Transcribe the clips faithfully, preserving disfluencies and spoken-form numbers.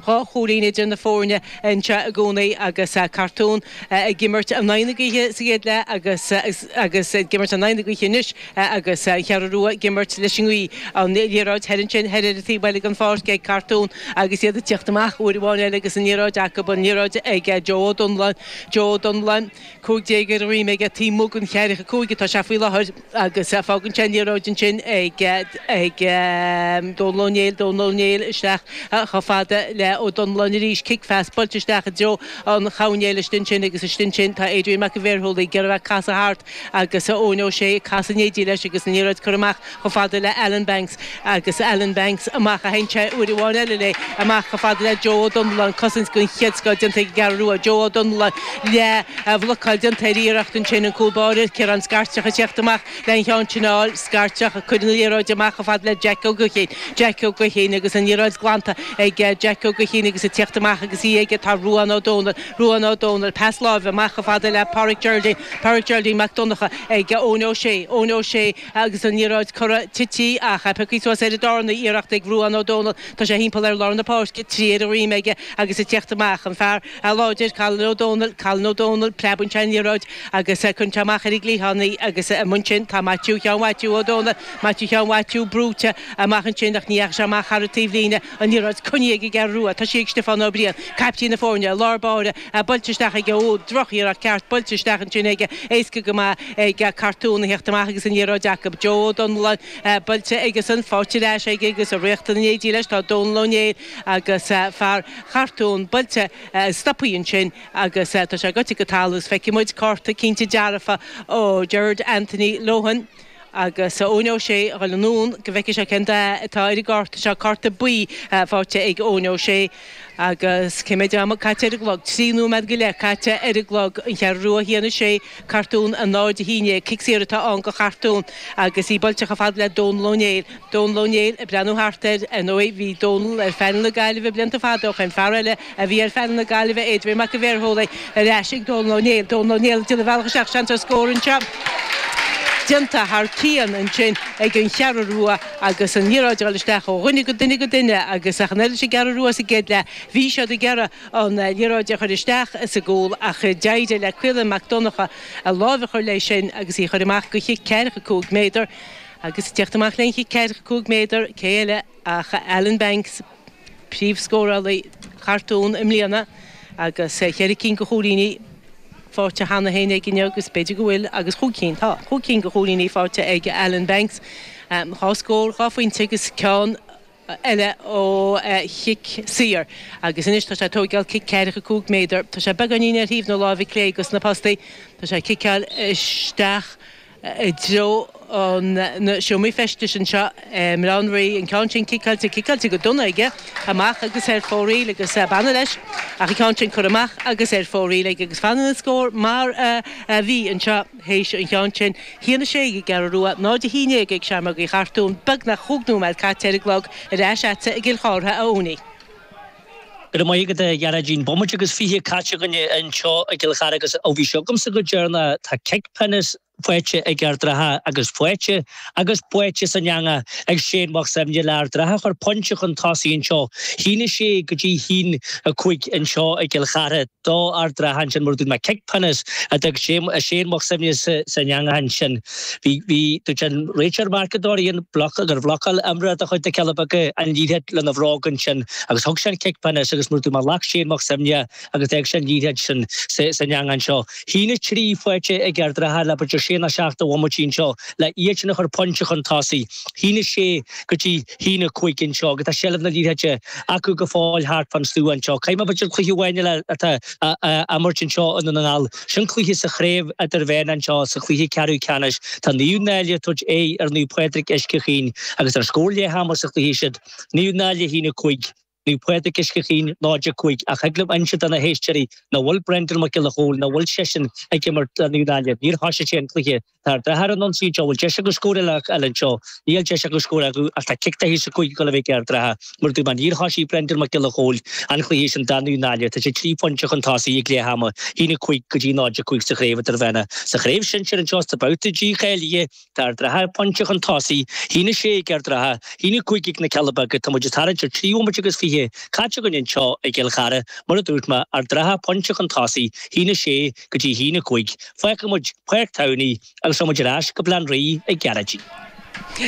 Dhá chúilín idir na foirne anseo i gcónaí agus Cartún ag imirt in aghaidh na gaoithe sa gcéad leath agus agus ag imirt in aghaidh na gaoithe anois agus an Cheathrú Rua ag imirt leis an ngaoth. An liathróid thoir ansin thoir ar an taobh eile den pháirc ag Cartún agus iad ag tíocht amach uair amháin eile agus an liathróid acu, an liathróid ag Joe Ó Donnellan, Joe Ó Donnellan, cúig déag ar a dhroim aige taobh amuigh den cheathracha cúig atá sé faoi láthair agus fágann sé an liathróid ansin ag ag Dónal Ó Néill, Dónal Ó Néill isteach chomh fada le Ó Donnellan arís, cic phas buailte isteach i dtreo an choirnéil istigh ansin agus istigh ansin tá Adrian Mac an Bhéarshúlaigh ag iarraidh casadh thart agus Eoin Ó Sé ag casadh in éindí leis agus an liathróid curtha amach chomh fada le Alan Banks agus Alan Banks amach a sheinn sé uair amháin eile léi amach chomh fada le Joe Ó Donnellan, cosaint den chéad scoth déanta ag an gCeathrú Rua, Joe Ó Donnellan le bhlocáil déanta ar iarracht ansin an cúl báire, Ciarán Scairteach ag teacht amach le an cheann sin a fháil, Scairteach ag cur na liathróide amach chomh fada le Jack Ó Guithín, Jack Ó Guithín agus an liathróid glanta ag Jack Ó Guithín agus ag teacht amach agus í aige tá Ruán Ó Dónaill, Ruán Ó Dónaill, pas láimhe amach chomh fada le Páraic Geraldine, Páraic Geraldine Mac Donncha ag Eoin Ó Sé, Eoin Ó Sé agus an liathróid curtha tite ach pioctha suas ar an darna iarracht ag Ruán Ó Dónaill. Tá sé thimpeall ar lár na páirce, trí ar a dhroim aige agus ag teacht amach an fear láidir, Colin Ó Dónaill, Colin Ó Dónaill, preabann sé an liathróid agus cuireann sé amach ar an gcliathán í agus amuigh ansin tá Maitiú Sheáin Mhaitiú Ó Dónaill, Maitiú Sheáin Mhaitiú brúite amach ansin ach ní dheachaigh sé amach thar an taobhlíne, an liathróid coinnithe ag an gCeathrú Rua, tá sí ag Stiofán Ó Briain, caiptín na foirne, lár báire, buailte isteach aige, ó, drochiarracht ceart, buailte isteach ansin aige, éasca go maith ag Cartún a theacht amach agus an liathróid acu, Joe Ó Donnellan, buailte aigesan, faighte ar ais aige agus ag ritheacht in éindí leis tá Dónal Ó Néill agus fear Chartún buailte stoptha ansin agus tá sé goite go talamh agus feicfidh muid cárta cinnte dearfa ó Gerard Anthony Lohan agus Eoin Ó Sé a dhul anonn go bhfeicfidh sé cén dath atá ar an gcárta seo, cárta buí faighte ag Eoin Ó Sé agus cé mhéad am caite ar an gclog? Trí nóiméad go leith caite ar an gclog, An Cheathrú Rua a haon a sé, Cartún a náid a haon déag. Cic saor atá ann do Chartún agus í buailte chomh fada le Dónal Ó Néill. Dónal Ó Néill ag breathnú thart air. Ar ndóigh, bhí Dónal ar phainéal na Gaillimhe blianta fada ó shin. Fear eile a bhí ar phainéal na Gaillimhe, Adrian Mac an Bhéarshúlaigh, ar ais ag Dónal Ó Néill. Dónal Ó Néill ag déanamh a bhealach isteach, seans ar scór anseo. Déanta thar cionn ansin ag an Cheathrú Rua agus an liathróid ag dul isteach ó dhuine go duine go duine agus ach an oiread leis an gCeathrú Rua sa gcéad leath, bhí siad ag iarraidh an liathróid a chur isteach sa gcúl ach d'éirigh le Caolán Mac Donncha a lámh a chur léi sin agus í a chur amach go chic ceathracha cúig méadar. Agus ag teacht amach lena chic ceathracha cúig méadar, cé eile ach Alan Banks, príomhscórálaí Chartún i mbliana agus cheithre cinn de chúilíní faighte cheana féin aige inniu agus b'fhéidir go bhfuil agus chúig cinn, tá, chúig cinn de chúilíní faighte ag Alan Banks. Dhá scór, dhá phointe agus ceann eile ó chic saor. Agus anois tá sé ag tóigeáil cic ceathracha cúig méadar. Tá sé beagáinín ar thaobh na láimhe clé dos na postaí. Tá sé ag ciceáil isteach i dtreo na seomraí feistis anseo i mBaile Átha an Rí. An ceann sin ciceáilte, ciceáilte go dona aige, amach agus ar fóraoil agus b'annamh leis ach an ceann sin curtha amach agus ar fóraoil aige agus fanann an scór mar a bhí anseo théis an cheann sin. A haon a sé ag an gCeathrú Rua, náid a haon déag ag Seamrógaí Chartún, beagnach chúig nóiméad caite ar an gclog ar ais agatsa i gCill Chártha, a Owenie. Go raibh maith agat a Ghearóidín. Bomaite agus fiche caite againn anseo i gCill Chartha agus ó bhí seo agamsa go deireanach tá cic pionóis faighte ag Ard an Rátha agus faighte agus buaite san eangach ag Shane Mac Suibhne le Ard an Rátha a chur pointe chun tosaigh anseo. A haon a sé go dtí a haon a cúig anseo i gCill Chartha do Ard an Rátha ansin mar a dúirt mé cic pionóis a d'fhág Shane Mac Suibhne san eangach ansin. Bhí bhí dúirt an réiteoir Mark Dorrian bloc gur bhlocáil imreoir de chuid na Cealla Beaga an liathróid lena bhróg ansin agus thug sé an cic pionóis agus mar a dúirt mé ghlac Shane Mac Suibhne agus d'fhág sé an liathróid sin san eangach anseo. A haon a trí faighte ag Ard an Rátha le b'fhéidir sé nó seacht de bhomaití anseo le iad sin a chur pointe chun tosaigh. A haon a sé go dtí a haon a cúig anseo agus tá seilbh na liathróide acu go fóill thart fán slua anseo. Caithfidh mé b'fhéidir cluiche amháin eile atá á imirt anseo i nDún na nGall. Sin cluiche sa chraobh idirmheánach anseo sa chluiche ceathrú ceannais. Tá Naomh Náille ag tabhairt aghaidh ar Naomh Pádraig Uisce Chaoin agus ar scór leath ama sa chluiche sin Naomh Náille a haon a cúig. Naomh Pádraig Uisce Chaoin náid a cúig ach thig liom inse do na héisteoirí nach bhfuil Brendan Mac Giolla Chóill, nach bhfuil seisean ag imirt do Naomh Náille. Níor thosaigh sé an cluiche. Tá Ard an Rátha ar an ionsaí anseo. Bhfuil deis acu scór eile anseo? Níl deis acu scór acu ach tá cic taithí sa cúig ag dul a bheith ag Ard an Rátha. Mar a dúirt mé, níor thosaigh Brendan Mac Giolla Chóill an cluiche sin do Naomh Náille. Tá sé trí phointe chun tosaigh ag leath ama, a haon a cúig go dtí náid a cúig sa chraobh idirmheánach. Sa chraobh shinsir anseo sa babhta dícháilithe, Tá Ard an Rátha pointe chun tosaigh, a haon a sé ag Ard an Rátha, a haon a cúig ag na Cealla Beaga. Tá muid ag tarraingt ar trí bhomaite agus fiche fiche caite againn anseo i gCill Chartha, mar a dúirt mé, Ard an Rátha pointe chun tosaigh, haon a sé go dtí haon a cúig. Fágfaidh muid Páirc Towney agus tá muid ar ais go Baile Átha an Rí ag Gearóidín.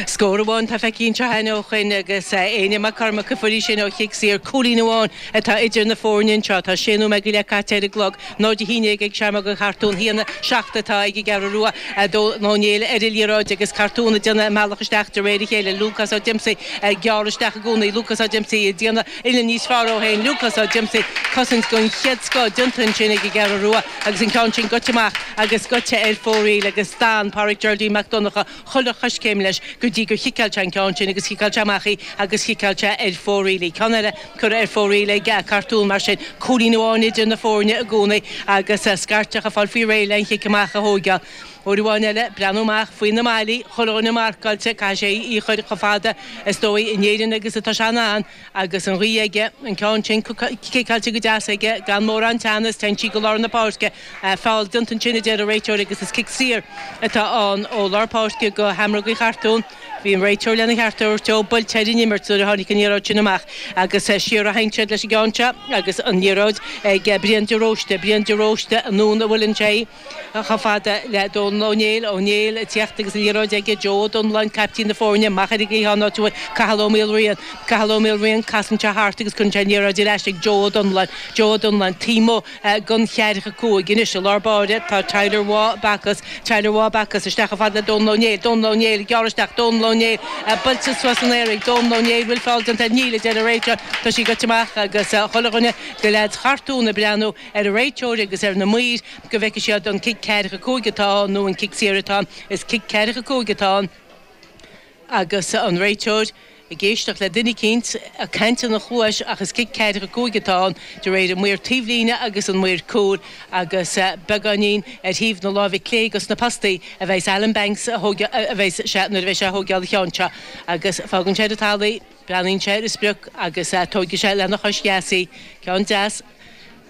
Scór amháin tá feicthe anseo cheana ó shin agus Éanna Mac Cormaic a fuair í sin ó chic saor. Cúilín amháin atá idir na foirne anseo. Tá sé nóiméad go leith caite ar an gclog. Náid a haon déag ag Seamróga Chartún, haon a seacht atá ag an gCeathrú Rua. Dónal Ó Néill ar an liathróid agus Cartún ag déanamh a mbealach isteach de réir a chéile. Lúcás Ó Diomsaigh ag gearradh isteach i gcónaí. Lúcás Ó Diomsaigh ag déanamh uillinn níos fearr dó féin. Lúcás Ó Diomsaigh cosaint den chéad scoth déanta ansin ag an gCeathrú Rua agus an ceann sin gaibhte amach agus gaibhte ar fóraoil agus d'fhan Pádraig Geraldine Mac Donncha chuile choiscéim leis go dtí gur chiceáil sé an ceann sin agus chiceáil sé amach í agus chiceáil sé ar fóraoil í. Ceann eile curtha ar fóraoil ag Cartún mar sin, cúilín amháin idir na foirne i gcónaí agus scairteach ag fáil faoi réir le an chic amach a thógáil. Uair amháin eile, breathnú amach faoi na maillí, chuile dhuine marcáilte, caithfidh sé í a chur chomh fada is dóigh in Éirinn agus atá sé in ann agus an ghaoth aige, an ceann sin ciceáilte go deas aige gan mórán teannas, téann sí go lár na páirce, feall déanta ansin a deir an réiteoir agus is cic saor atá ann ó lár páirce go Sheamrógaí Chartún. Bhí an réiteoir lena cheart a thabhairt dó, buailte ar an imirt nuair a tháinig an liathróid sin amach agus siar a théann siad leis an gceann seo agus an liathróid ag Brian de Róiste, Brian de Róiste anonn a bhuaileann sé chomh fada le Dónal Ó Néill, Ó Néill ag tíocht agus an liathróid aige, Joe Ó Donnalláin, caiptín na foirne, amach ar an gcliathán áit a bhfuil Cathal Ó Maolriain, Cathal Ó Maolriain, casann sé thart agus cuireann sé an liathróid ar ais ag Joe Ó Donnalláin, Joe Ó Donnalláin, taobh amuigh den cheathracha cúig anois i lár báire tá Tyler Waugh Bacchus, Tyler Waugh Bacchus isteach chomh fada le Dónal Ó Néill, Dónal Ó Néill ag gearradh isteach, Dónal Ó Néill buailte suas san aer ag Dónal Ó Néill, bhfuil feall déanta air? Níl, a deir an réiteoir, tá sí gaibhte amach agus chuile dhuine de leaids Chartún ag breathnú ar an réiteoir agus ar na maoir go bhfeicfidh siad an cic ceathracha cúig atá ann nó an cic saor atá ann. Is cic ceathracha cúig atá ann agus an réiteoir ag éisteacht le duine eicínt ag caint ina chluais ach is cic ceathracha cúig atá ann de réir an maor taobhlíne agus an maor cúil agus beagáinín ar thaobh na láimhe clé dos na postaí a bheas Alan Banks a bheas sé nuair a bheas sé a thógáil an cheann seo agus fágann sé ar an talamh í, breathnaíonn sé ar a sprioc agus tógfaidh sé lena chois dheas í. Ceann deas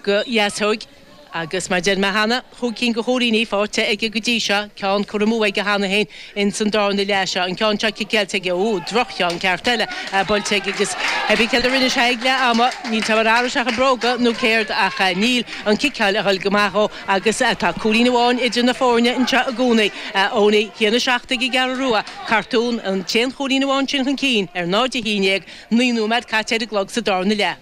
go dheasóig. Agus mar deir mé cheana, chúig cinn de chúilíní faighte aige go dtí seo, ceann curtha amú aige cheana féin ins an darna leath seo, an ceann seo ciceáilte aige, ó, droch-cheann ceart eile buailte aige agus pé céard a rinne sé ag leath ama, níl 's a'm ar athraigh sé a bhróga nó céard ach níl an ciceáil a dhul go maith dhó agus tá cúilín amháin idir na foirne anseo i gcónaí. Owenie, haon a seacht ag an gCeathrú Rua, Cartún an t-aon chúilín amháin sin chun cinn ar náid a haon déag, naoi nóiméad caite ar an gclog sa darna leath.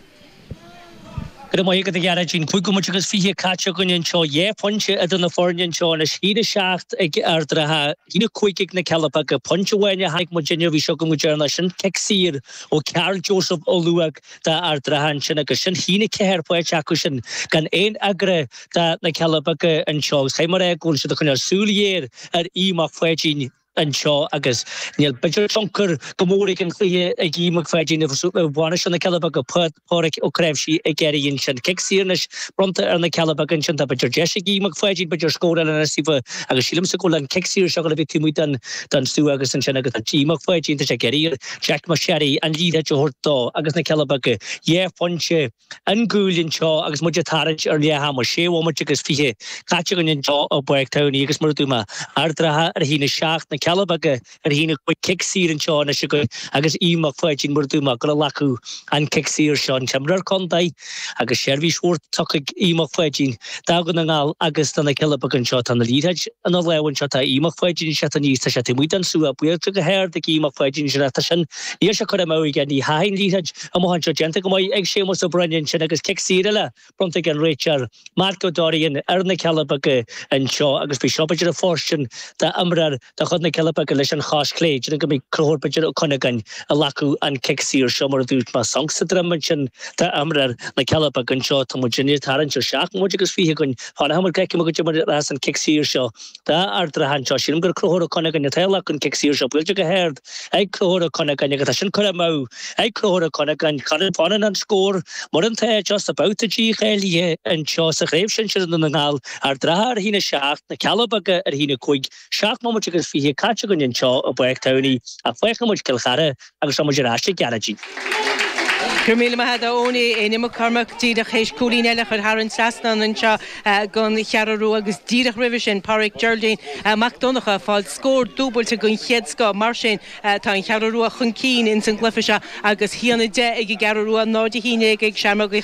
Go raibh maith agat a Ghearóidín. Cúig nóiméad agus fiche caite againn anseo. Dhá phointe idir na foirne anseo anois. Haon a seacht ag Ard an Rátha, haon a cúig ag na Cealla Beaga. Pointe amháin a chonaic muid inniu, bhí seo agam go deireanach. Sin cic saor ó Karl Joseph Ó Luaig d'Ard an Rátha ansin agus sin haon a ceathair faighte acu sin gan aon fhreagra do na Cealla Beaga anseo. Agus caithfidh mé a rá go bhfuil siad ag coinneáil súil ghéar ar Aodh Mac Pháidín. anseo agus níl b'fhéidir tionchar go mór ag an chluiche ag Aodh Mac Pháidín a bhainisteoir na Cealla Beaga Pádraic Ó Cnáimhsí ag iarraidh ansin. Cic saor anois bronnta ar na Cealla Beaga ansin tá b'fhéidir deis ag Aodh Mac Pháidín b'fhéidir scór eile anois daofa agus sílimse go bhfuil an cic saor seo a bhí taobh amuigh den den stua agus ansin agus tá Aodh Mac Pháidín tá sé ag iarraidh ar Jack McSherry an liathróid a thabhairt dó agus na Cealla Beaga dhá phointe an gcúl anseo agus muid ag tarraingt ar leath ama, sé bhomaite agus fiche caite againn anseo i bPáirc Towney agus mar a dúirt mé, Ard an Rátha ar a haon a seacht, na Cealla Beaga ar a haon a cúig, cic saor anseo anois againn agus Aodh Mac Pháidín mar a dúirt mé ag dul a ghlacadh an cic saor seo, an t-imreoir contae agus seirbhís mhór tugtha ag Aodh Mac Pháidín do Dhún na nGall agus do na Cealla Beaga anseo. Tá na liathróid ina lámha anseo, tá Aodh Mac Pháidín ag teacht aníos, tá sé taobh amuigh den stua, buailte go hard ag Aodh Mac Pháidín ansin ach tá sin, níl sé curtha amú aige, ní theachaidh an liathróid amach anseo déanta go maith ag Séamus Ó Broin ansin agus cic saor eile bronnta ag an réiteoir Mark Ó Dorrian ar na Cealla Beaga anseo agus bhí seo b'fhéidir ag fóirstean d'imreoir de chuid na Cealla Beaga leis an chos chlé. Déarfainn go mbeidh Conchúr b'fhéidir Ó Cuinneagáin ag glacadh an cic saor seo mar a dúirt mé sonc sa droim ansin d'imreoir na Cealla Beaga anseo. Tá muid ag tarraingt ar seacht nóiméad agus fiche againn. Fanfaidh muid go bhfeicfidh muid goidé mar a rachas an cic saor seo d'Ard an Rátha anseo. Sílim gur Conchúr Ó Cuinneagáin atá ag glacadh an cic saor seo buailte go hard ag Conchúr Ó Cuinneagáin agus tá sin curtha amú ag Conchúr Ó Cuinneagáin. Fanann an scór mar atá just about dícháilithe anseo sa Chraobh Shinsir i nDún na nGall, Ard an Rátha ar a haon a seacht, na Cealla Beaga ar a haon a cúig, seacht mbomaite agus fiche caite againn anseo i bPáirc Towney ach fágfaidh muid Cill Chartha agus tá muid ar ais ag Gearóidín. Go raibh míle maith agat a Eoin Éanna Mac Cormaic díreach théis cúilín eile a chur thar an trasnán anseo don Cheathrú Rua agus díreach roimhe sin Pádraig Geraldine Mac Donncha ag fáil scór dúbailte den chéad scoth mar sin tá an Cheathrú Rua chun cinn ins an gcluiche seo agus a haon a deich ag an gCeathrú Rua náid a haon déag ag Seamróg Uí